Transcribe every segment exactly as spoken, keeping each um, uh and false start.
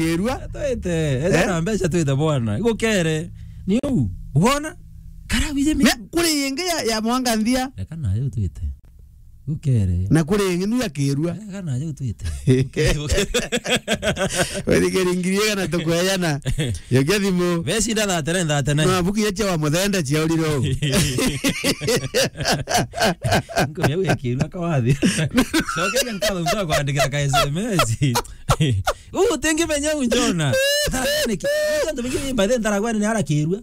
Kirua. Twite, eja Eh? na mbeca twite bwana. Igukere. Ni uu. Ubona? Kara wije mi. Me, kuri ingi ya, ya mwanga nthia. Reka nayo twite. Igukere. Na kuri ingi nu ya Kirua. Reka nayo twite. Wethikiri ngiri igana tukwejana. Yokia thimu. Becinda thirty-nine, thirty-nine. No, buku ya cia wa muthenda cia uriro. Nko ya wekirwa kawathi. Cokeria nkatho mtu akwandikira ka S M S. Uu, utingimenya uu Njona. Thara niki? Antu bingi by then thara gwene ni arakirua.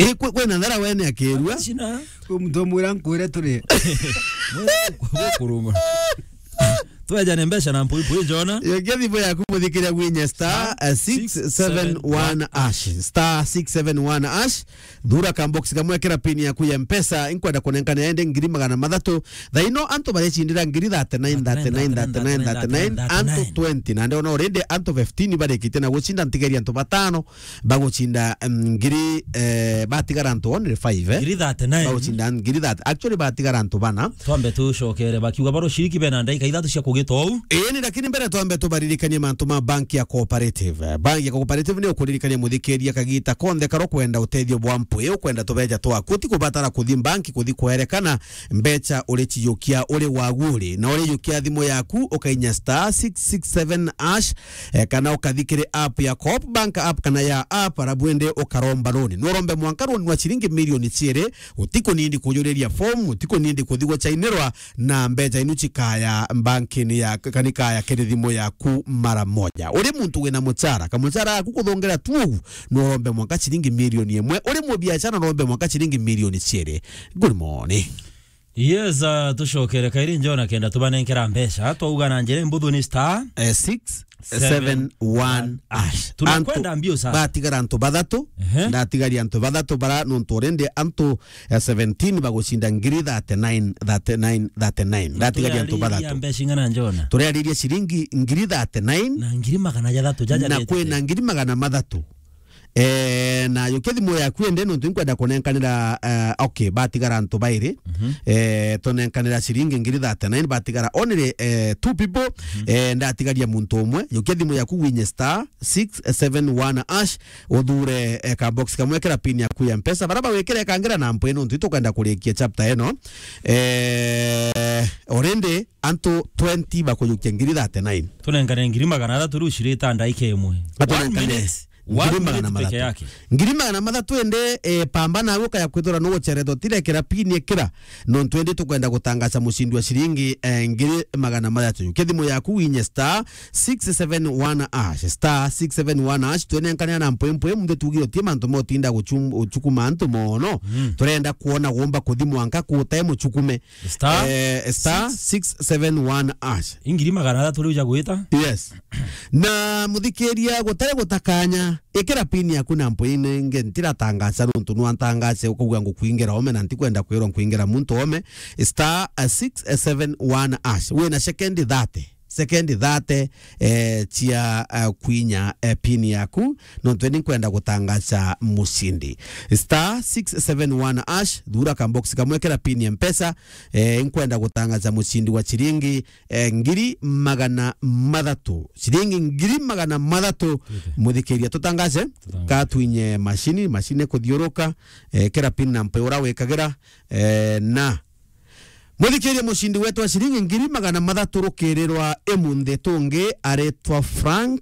Ii, kwi-, kwina thara wene akirua. Cina. Uu muntu omwira nkwire turi. Kuruma. Twejane mbeca na mpui mpui Njona. Yokia thimu yaku muthikiria gwinye star, eh, six seven one hash. Star six seven one hash. Thura kambox kamwe, kira pin yaku ya Mpesa, inkwenda kunenkana ende ngiri magana mathatu. Thaino antu barecindira ngiri thirty-nine, thirty-nine, thirty-nine, thirty-nine, antu twenty. Na ndona already antu fifteen barikite na gucinda, ntigeria antu batano bagucinda, em, ngiri, eh, batigara antu only five, eh? Ngiri thirty-nine. Bagucinda ngiri thirty. Actually, batigara antu bana. Twambe tucokere bakiuga baro ciriki bena ndaika ithatu cia kugita uu. Ii, ni lakini mbere twambe tubaririkanie mantu ma banki ya Cooperative. Banki ya Cooperative ni ukuririkania muthikiria kagita konthe karo kwenda utethio bwa mpwi, ukwenda tubeja twaku, ti kubatara kuthi banki kuthi kwerekana mbeca uri cijukia uri wagu uri. Na uri jukia thimu yaku, ukainya star six six seven hash, eh, kana ukathi kiri app ya Coop Bank app kana ya app, arabu indi ukaromba loan. Norombe mwanka loan wa ciringi milioni ciiri, utikunindi kujuriria form, utikunindi kuthi gucainirwa, na mbeca inu cikaya mbankini ya, kana ikaya kiri thimu yaku mara moja. Uri muntu wina muchara, kamuchara gaku kuthongera tu ugu, norombe mwanka ciringi milioni imwe. Uri mubiashara, norombe mwanka ciringi milioni ciiri. Good morning. Yes, uh, tucokere kairi Njona kenda tubanenkera mbeca. Twauga na njira imbuthu ni star, eh, six seven one hash. Tunakwenda mbio sana. Antu batigara antu bathatu. Ehe. Ndatigaria antu bathatu bara nontu already antu, eh, seventeen bagucinda ngiri thirty-nine, thirty-nine, thirty-nine. Ndatigaria antu bathatu. Mbeca ing'ana Njona? Turiariria ciringi ngiri thirty-nine. Na ngiri magana jathatu jaja na kwina ngiri magana mathatu. Eh, na yukia thimu yaku ende nontu inkwenda kunenkanira, eh, okay, batigara antu bairi. Mhm. Eh, tunenkanira ciringi ngiri thirty-nine, batigara only, eh, two people. Mhm. Eh, ndatigaria muntu umwe. Yukia thimu yaku winye star six seven one hash, uthure, eh, ka box kamwe kira pin yaku ya Mpesa. Bara bawikire kangira na mpwe nontu itukwenda kurikia chapter eno. Eh, already antu twenty bakuyukia ngiri thirty-nine. Tunenkane ngiri magana athatu riu cirita ndaika imwe. One minute. One minute peke yake. Ngiri magana mathatu ende, eh, pamba nawe ukaya kwithira nuguceretwo tirekera pin ikira. Nontu indi tukwenda gutangaca mucindi wa ciringi, eh, ngiri magana mathatu. Yukia thimu yaku winye star six seven one hash, star six seven one hash, twenenkanira na mpwempwe, munthe tugi utie mantu motinda guchum-, guchukuma antu mono. Mm. Turenda kuona gumba kuthi mwanka kutae muchukume. Star, eh, star six seven one hash. Ingiri magana athatu riu ja gwita? Yes. Na muthikiria gutari gutakanya, ikira pin yaku na mpwini inge ntiratangaca nontu nwantangace ukauga ngukwingira ome na ntikwenda kwirwa nkwingira muntu ome. Star, eh, six seven one hash. Wina second thirty. Second thirty, eh, cia, eh, kwinya, eh, pin yaku, nontu ni nkwenda gutangaca mucindi. Star six seven one hash, thura ka box kamwe kira pin ya Mpesa, eh, nkwenda gutangaca mucindi wa ciringi, eh, ngiri magana mathatu. Ciringi ngiri magana mathatu, okay, muthikiria. Tutangace, tutangace. Ka twinye macini, macini kuthiuruka, eh, kira pin na mpe ura wikagira, eh, na muthikiria, mucindi wetu wa ciringi ngiri magana mathatu rukirirwa imunthi tungi aritwa Frank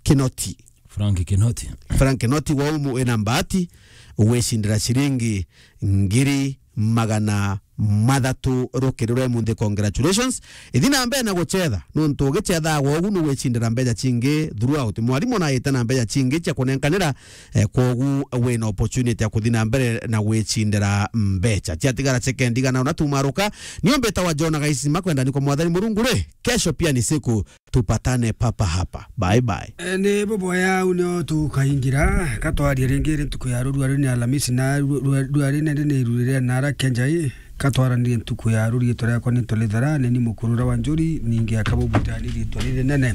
Kinoti. Frank Kinoti. Frank Kinoti wa umu wina mbati ugwicindira ciringi ngiri magana mathatu rukirirwa imunthi. Congratulations. Ithi na mbere na gucetha, nontu ugicethaga ugu nugwicindira mbeca cingi throughout. Mwarimu naite na mbeca cingi cia kunenkanira, eh, kwogu wina opportunity ya kuthi na mbere na gwicindira mbeca. Ciatigara sekendi igana una tumaruka, nio mbitawa John Gaisima, kwenda ni kwa Mwathani Murungu ri, kesho pia ni siku, tupatane papa hapa. Bye bye. Eh, ni buboya au nio tukaingira, katwaria ringi ri ntuku ya rurua ri ni Alhamisi na ru-, rua-, rua ri nende ni rurire na ara kenjai. Katwaranirie ntuku ya ruriitwa riakwa ni Tolithera, ni ni mukurura wa Njuri, ningi akabubutani riitwa riri nene.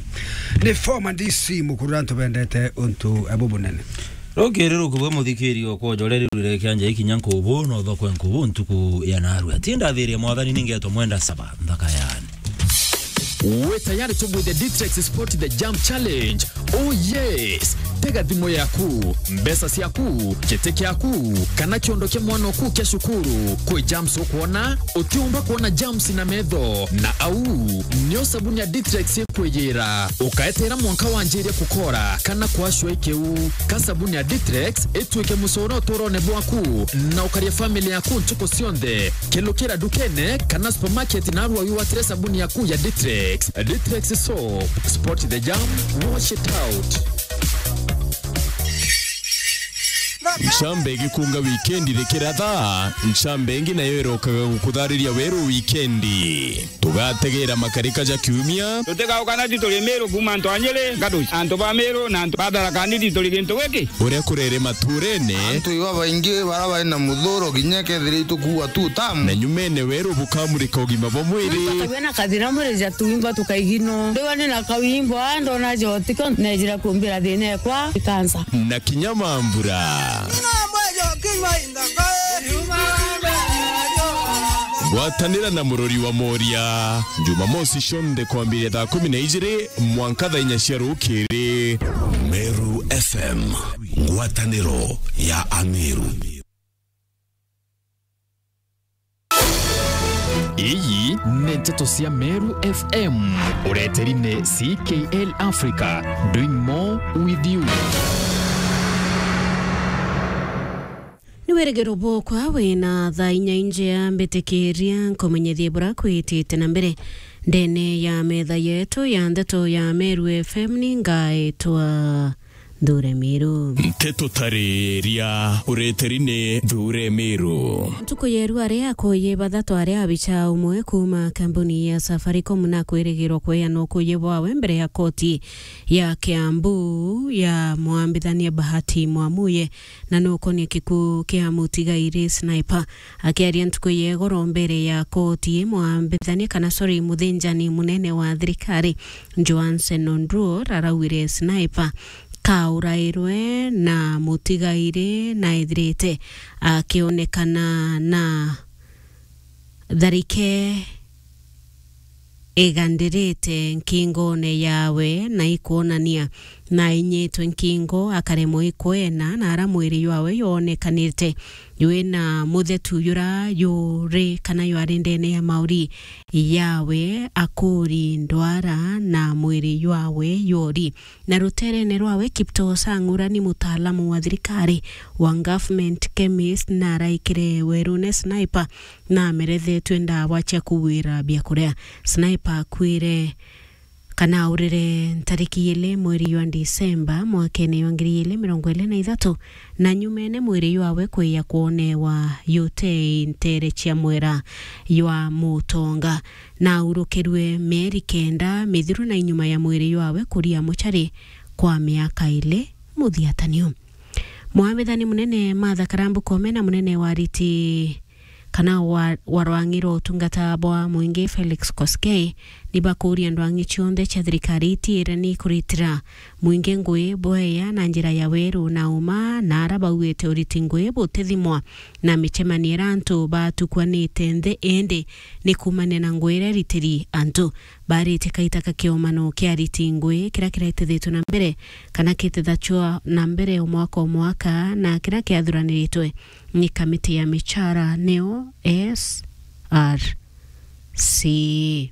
Ni former D C mukurura, ntubendete untu bubunene. Rukiri rukubwe muthikiri okwa ujore rirurire kianja ikinya nkubu, no thokwe nkubu ntuku ya narua. Tinda thiria Mwathani ningetwa mwenda saba, nthaka yani. Wi tayari tubwithie Ditrex Sport the Jump Challenge? Oh yes! Tega thimu yaku, mbeca ciaku, giti kiaku, kana kiondo kia mwana oku kia cukuru. Kwi jumps ukwona, utiumba kwona jumps na metho, na au nio sabuni ya Ditrex ikwiyira. Ukaeteera mwanka wanjirie kukora kana kwacua ikiu. Ka sabuni ya Ditrex ituike mucoro uturone bwaku, na ukaria family yaku ntuku cionthe. Kelukira ndukene kana supermarket narua wigwatire sabuni yaku ya Ditrex. Ditrex soap. Spot the jam. Wash it out. Ncambe igikunga wikendi rikiratha, ncambe ingi nayo irokaga gukuthariria weru wikendi. Tugategeera makarika ja kiumia. Tutigaukana ti turi Miru kuuma antu a Nyeri, Ngatuci, antu ba Miru na antu ba Tharaka Nithi turi gintu giki. Uria kurere maturene. Antu iba baingi bara bari na muthuro kinya kethira itukuua tu tamu. Na nyumene weru bukamurika ugima bwa mwiri. Tawia na kathira mwiri ja tuimba tukaigino. Ndiwa ni na kawimbo, a, ndona jotiko, nejira kumbira thina ekwa, ikansa. Na kinya mambura. Gwatanira na murori wa Moria, Jumamosi cionthe kwambiria thaa kumi na ijiri mwanka thaa inya cia rukiri. Meru F M, ngwataniro ya Ameru. Iyi ni nteto cia Meru F M, ureteri ni C K L Africa, doing more with you. Ni wirigiro bwokwa wina thaa inya injea, mbitikiria nkumenyethie bura kwitite na mbere ndene ya metha yetu ya ndeto ya Meru F M. Ni ngaitwa Nthure Miru. Nteto tariria ureteri ni Nthure Miru. Ntuku yeru aria akuuji bathatu aria abicha umwe kuuma kambuni ya Safaricom na kwirigirwa kweana ukuuji bwawe mbere ya koti ya Kiambu ya mwambithania Bahati Mwamuye, na nukonia gikuu kia mutigairi Sniper. Akiaria ntuku ya igoro mbere ya koti, mwambithania kana, sorry, muthinjani munene wa thirikari Johansen Onduor araugire Sniper kaurairwe na mutigairi na ethirite akionekana na tharike igandirite nkingone yawe na ikwonania na ainyitwe nkingo, akaremwa ikwena, na ara mwiri jwawe jwonekanite jwina muthetu jura juri kana jwari ndene ya mauri yawe, akuri ndwara na mwiri jwawe jwori. Na ruterene rwawe, Kiptoo Sang, ura ni mutaalamu wa thirikari wa government chemist, na araikire werune Sniper na amerethetwe ndawa cia kugwira biakuria. Sniper akuire kana aurire ntariki ili mweri jwa Disemba mwakene jwa ngiri ili mirongo ili na ithatu, na nyumene mwiri jwawe kwija kwonewa jutei ntere cia mwera jwa Mutonga, na aurukirwe mieri kenda mithiru na inyuma ya mwiri jwawe kuria muchari kwa miaka ili muthiatanio. Mwambithani munene Martha Karambu Koome na munene wa ariti kana wa, wa rwang'i rwa utungata bwa mwingi Felix Koskei nibakuuria ndwang'i cionthe cia thirikari itiire ni kuritira mwingi ngui bweya na njira ya weru na uma, na ara bauite uriti ngui butithimwa na micemanio ira antu batukwanite nthi, indi ni kuumania na ngui iria iritiri antu. Barite kaita ka kiomano kia ariti ngui kiria kiretithitwe na mbere kana kitithachwa na mbere o mwaka o mwaka, na kiria kiathuraniritwe ni kamiti ya michara, niyo S R C.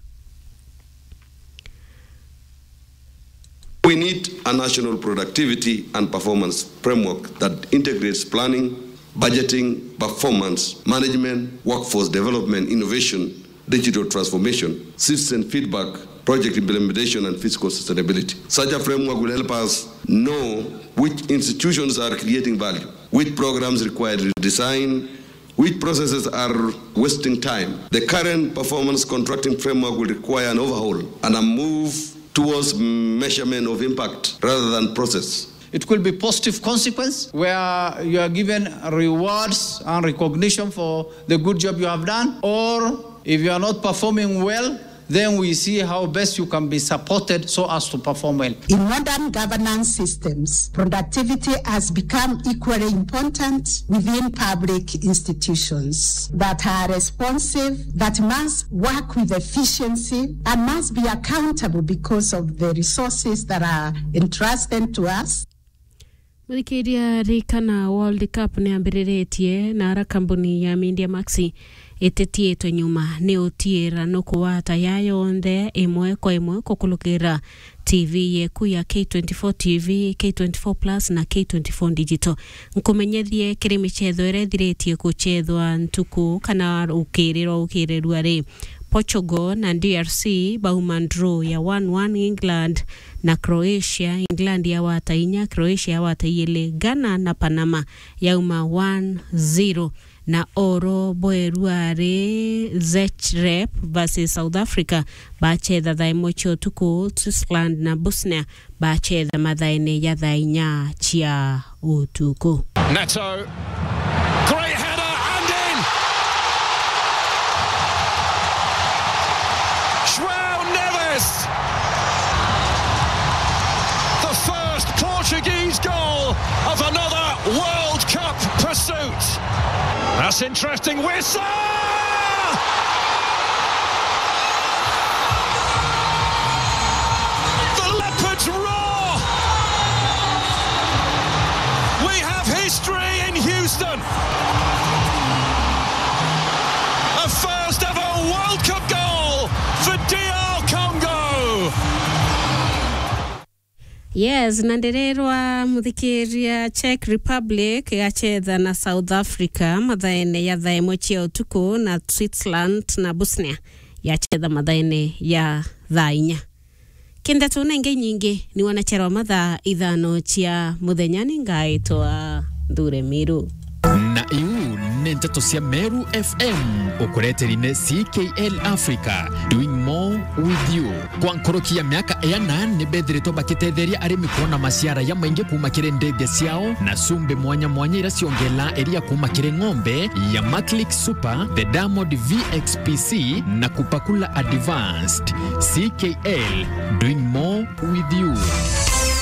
We need a national productivity and performance framework that integrates planning, budgeting, performance management, workforce development, innovation, digital transformation, citizen feedback, project implementation, and fiscal sustainability. Such a framework will help us know which institutions are creating value, which programs require redesign, which processes are wasting time. The current performance contracting framework will require an overhaul and a move towards measurement of impact rather than process. It could be positive consequence where you are given rewards and recognition for the good job you have done, or if you are not performing well, Then we see how best you can be supported so as to perform well. In modern governance systems, productivity has become equally important within public institutions that are responsive, that must work with efficiency, and must be accountable because of the resources that are entrusted to us. Muthikiria, ririkana World Cup ni yambiriritie na ara kambuni ya Media Max ititiitwe nyuma ni utiira nukuwata ya yonthe imwe kwa imwe kukulukira T V yeku ya K twenty-four T V, K twenty-four Plus na K twenty-four Digital. Nkumenyethie kiri michetho iria ithiritie kuchethwa ntuku kana ukiriro ukirirua ri. Portugal na D R C bauma draw ya one one England na Croatia. England yawata inya, Croatia yawata iili. Ghana na Panama yauma one zero. Na oro bwerua ri Zagreb versus South Africa bachetha thaa imwe cia utuku. Switzerland na Bosnia bachetha mathaene ya thaa inya cia utuku. Neto. Great header and in! João Neves! The first Portuguese goal of another World Cup pursuit. That's interesting. Wissa! The Leopards roar! We have history in Houston. A first ever World Cup goal for D R Congo. Yes, na ndirirwa muthikiria, Czech Republic yachetha na South Africa mathaene ya thaa imwe cia utuku, na Switzerland na Bosnia yachetha mathaene ya thaa inya. Kindeto na ingi nyingi ni wanacherwa mathaa ithano cia muthenya. Ni ngaitwa Nthure Miru. Na iu ni nteto cia Meru F M, ukureteri ni C K L Africa, doing more with you. Kwa nkuruki ya miaka iana, ni bethiritwe bakitetheria arimi kwona maciara ya maingi kuma kiri ndithia ciao na cumbi mwanya mwanya iria ciongelaa iria kuma kiri ng'ombe ya Maclick Super, the Diamond V X P C na Kupakula Advanced. C K L, doing more with you.